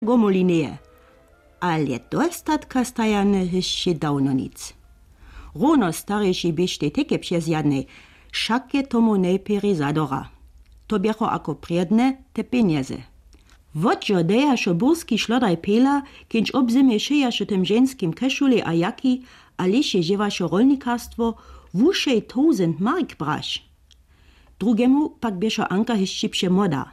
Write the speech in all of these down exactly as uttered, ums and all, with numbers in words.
Gomolineje, ale dostatka stajane hišće dawno nic. Hróno starješej běštej teke přezjadnej, wšake tomu nejpěri zadora. To běchu ako prědne te pjenjezy. Wotžo dejašo burski šlodaj pejla, kińč obzymje šejašo tym ženskim kešulej a jaki, a lěše žěwašo rolnikarstwo, wušej towzent mark braš. Drugemu pak běšo Anka hišći přemoda.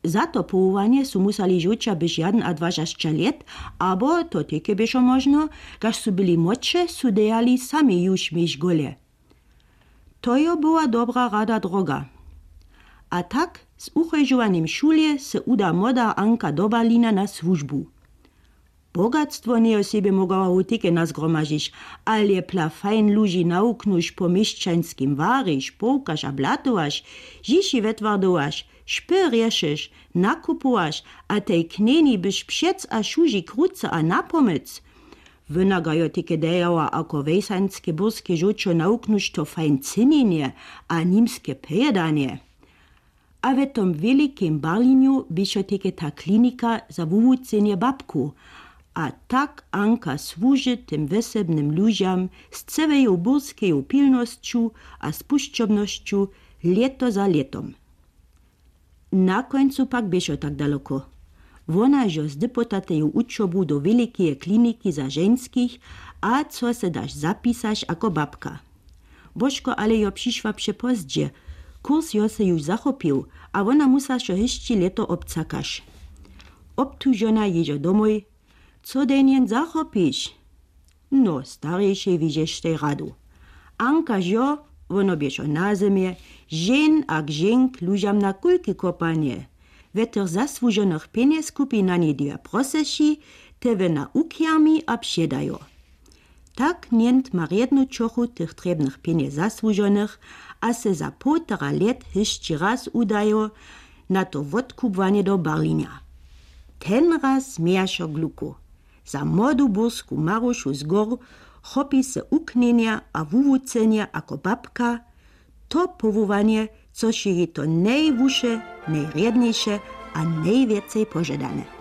Za to powołanje su musali žołća byš jadenadwašasće lět, abo to teke běšo móžno, kaž su byli młodše, su dejali sami juž mjez gole. To jo była dobra rada droga. A tak z uchojžowanim šulje se uda młoda Anka do Berlina na słužbu. Bogatstwo njejo sebje mogała wótike nazgromažić, ale pla fajn ludźi nawuknuš, po měšćańskim wariš, połkaš a blatowaš, žiši wetwardowaš, špy rješyš, nakupowaš a tej knjeni byš přec a šuži krucy a napomyc. Wóna ga jo tike dejała ako wejsańske burske žołćo nawuknuš to fajn cynjenje a nimske pějedanje. A w tom wjelikim Barlinju běšo teke ta klinika za wuwucenje babku. A tak Anka słuži tym wjesebnym ludźam z cełeju burskeju pilnosću a spušćobnosću lěto za lětom. Na kóncu pak běšo tak daloko. Wona jo zdypota teju wučobu do wjelikeje kliniki za ženskich, a co se daš zapisaš ako babka. Božko ale jo přišła přepozdźe. Kurs jo se juž zachopił, a wona musašo hišći lěto obcakaš. Obtužona jěžo domoj. Co denjen zachopiš? No, starješej widźeš tej radu. Ankaž jo, wono běšo na zymje, žen a k ženk lužam na kulki kopanje. We tych zasłužonych pjenjez kupi na něj dwě proseši, te wena ukjermi a předajo. Tak njent ma rjednu čochu tych trjebnych pjenjez zasłužonych, a se za połtora lět hišći raz udajo na to wotkubłanje do Barlinja. Ten raz mějašo gluku. Za młodu bursku marušu z gór chopi se uknjenja a wuwucenja ako babka, to powołanje, což je jej to nejwuše, nejrjedniše a nejwjecej požadane.